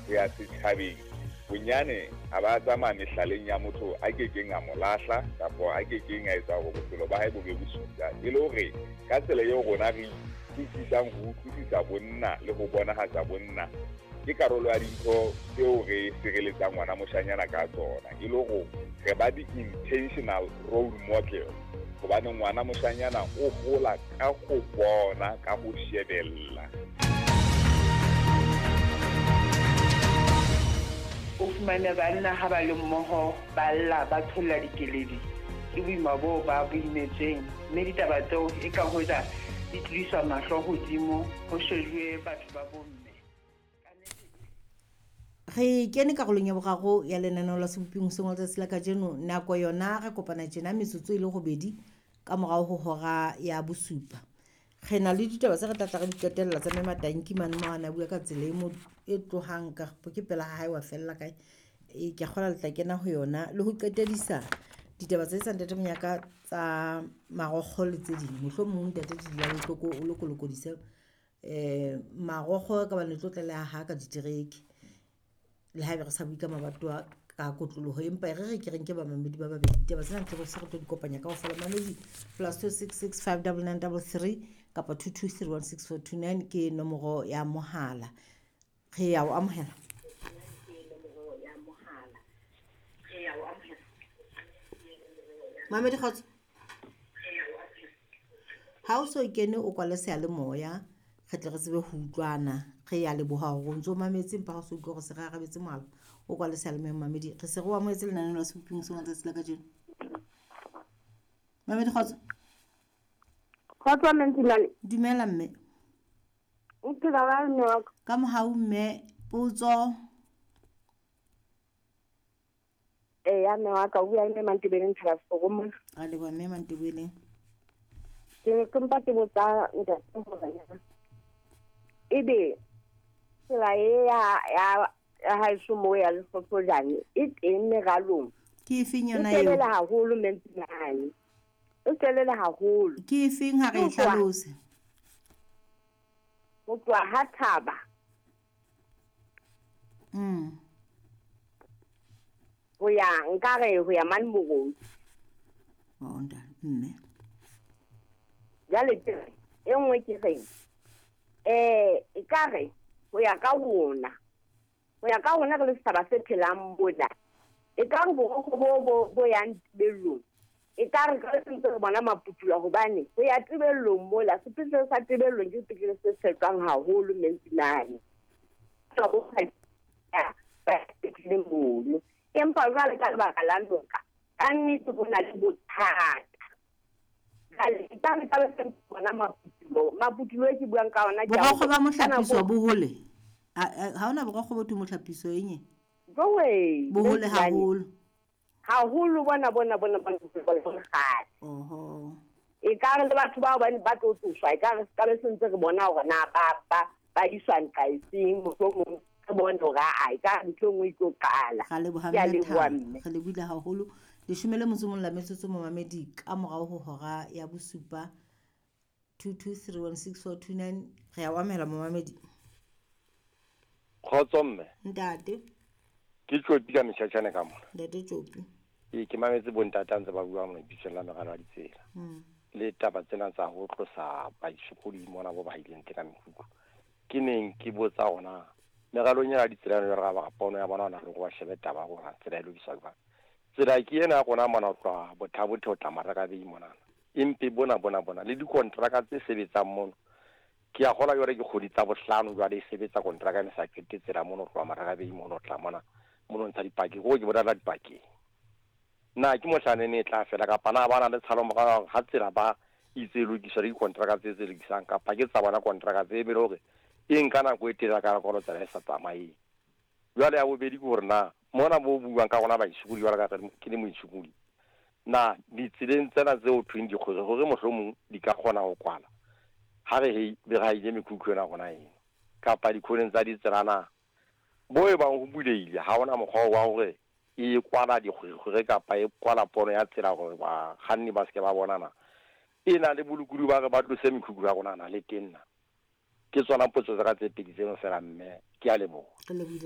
ho ya setjhabeng, bonyane a ba tsamaya mehlaleng ya motho a kekeng a mo lahla kapa a kekeng a etsa hore bophelo ba hae bo be bosula. E le hore ka tsela eo rona re utlwisisang ho utlwisisa bonna le ho bonahatsa bonna, ke karolo ya dintho tseo re sireletsang ngwana moshanyana ka tsona. E le hore re ba di-intentional role model, hobane ngwana moshanyana o hola ka ho bona, ka ho shebella. O fumane banna ha ba le mmoho ba lla, ba tsholla dikeledi ke boima boo ba bo imetsweng, mme ditaba tseo e ka hoja di tlodiswa mahlo hodimo ho shejuwe batho ba bomme. Re kene karolong ya boraro ya lenaneo la Seboping hoseng wa letsatsi la kajeno. Nako yona re kopana tjena metsotso e le robedi ka morao ho hora ya bosupa. Re na le ditaba tse re tla tla re di qetella tsa Mme Matanki mane mo a na bua ka tsela e mo e tlohang ka ke pela ha hae wa fella kae. E ke a kgolwa le tla kena ho yona le ho qetedisa ditaba tse tsa Ntate Monyaka tsa marokgo le tse ding. Mohlomong Ntate Dilabohloko o lokolokodise marokgo ka bane le tlo tlaleha ha ka ditereke. Le haebe re sa bue ka mabatowa ka kotloloho, empa e re re ke re nke bamamedi ba babedi. Ditaba tsena ntse re se re tlo di kopanya kaofela. Mamedi +266 599 33 kapa 22316429 ke nomoro ya mohala. Re ya o amohela. Mamedi kgotso. Ha o so kene o kwale seyalemoya, re tle re tsebe ho utlwana. Re ya leboha hore o ntso mametse, empa ha o so utlwe hore se re arabetse mohala, o kwale seyalemoya mamedi. Re se re o amohetse lenaneo la Seboping hoseng wa letsatsi la kajeno. Mamedi kgotso. Kgotso mme Ntimane. Dumela mme. O phela kae mme wa ka? Ka mohau mme, potso. Eya mme wa ka, o bua le mme Mantebeleng Thabasoko mona. Ra leboha mme Mantebeleng. Ke ne ke mpa ke botsa ntate hore na ebe tsela e ya ya ya haeso moo ya Lehlohlojane e teng meralong? Ke efeng E yona eo? telele haholo mme Ntimane. E telele haholo. Ke efeng ha re e Ho tloha hlalose? Ho tloha ha thaba. Ho ya nkare ho ya mane Morodi. Oh, ntate, mme. Jwale ke re, e nngwe ke reng, ekare ho ya ka rona, ho ya ka rona re le setjhaba se phelang mona, ekare borokgo bo, bo, bo yang tebellong, ekare ka re ntse re bona maputula, hobane ho ya tebellong mola, sepetlele sa tebellong ke sepetlele se tshepang haholo mme Ntimane. Ba bo ba sepetlele mono. Empa jwale ka lebaka la noka, ka nnete ho na le bothata. Jwale, ka re ka be se bona maputulo, maputulo e ke buang ka ona ke a Borokgo ba hore ka mohlapiso nako bo hole? Ha hona borokgo bo thweng mohlapiso eng e? Jowe, Bo hole mme Ntimane. haholo. Haholo bona, bona, bona, bona, bona, bona, kgale. Oho. Ekare le batho bao ba ne ba tlo tloswa, ekare se ka be se ntse re bona hore na ba, ba, ba iswa nqa efeng, mohlomong re bone hore aa, ekare ntho e nngwe e tlo qala. Ra leboha Ke a mme leboha Thabo. mme. Re lebohile haholo. Leshome le motso o mong la metsotso momamedi ka morao ho hora ya bosupa. 22316429. Re a o amohela momamedi. Kgotso mme. Ntate. Ke Tjopi ka metjhatjhane ka mona. Ntate Tjopi. Ee, ke mametse bontate a ntse ba bua mona lebitsong la meralo ya ditsela. Le taba tsena tsa ho tlosa baisokodi mona bo ba ileng teng ka mekhukhu. Ke neng ke botsa hore na meralong ya ditsela ena jwale ka ba pono ya bona hona le hore ba shebe taba ya hore tsela e lokiswa jwang. Tsela ke ena ya rona mona ho tloha Bothabothe ho tla Marakabei monana. Empe bona, bona, bona le dikontraka tse sebetsang mono. Ke a kgolwa jwale ke kgwedi tsa bohlano jwale e sebetsa kontraka ena e sa qete tsela mono ho tloha Marakabei mono ho tla mona, mono ntsha dipakeng. Ke hore ke bona dipakeng. Na ke mohlanene e tla fela kapa na ba na le tshalo morao ya hore ha tsela ba itse e lokiswa le dikontraka tse tse lokisang kapa ke tsa bona kontraka tse e be le hore e nka nako e telele ka nako tsela e sa tsamaeng. Jwale ya bobedi ke hore na mona bo buang ka rona baisokodi jwalo ka re ke le moisokodi, na ditseleng tsena tse ho thweng dikgwere hore mohlomong di ka kgona ho kwala ha re hei be re haile mekhukhu ena rona eno kapa dikhoneng tsa ditsela na bo e bang ho bulehile ha hona mokgwa wa hore e kwala dikgwerekgwere kapa e kwala pono ya tsela hore bakganni ba seke ba bona na e na le bolokolohi ba re ba tlose mekhukhu ya rona na le teng na. Ke tsona potso tsa ka tse pedi tseno fela mme, ke a leboha. Re lebohile.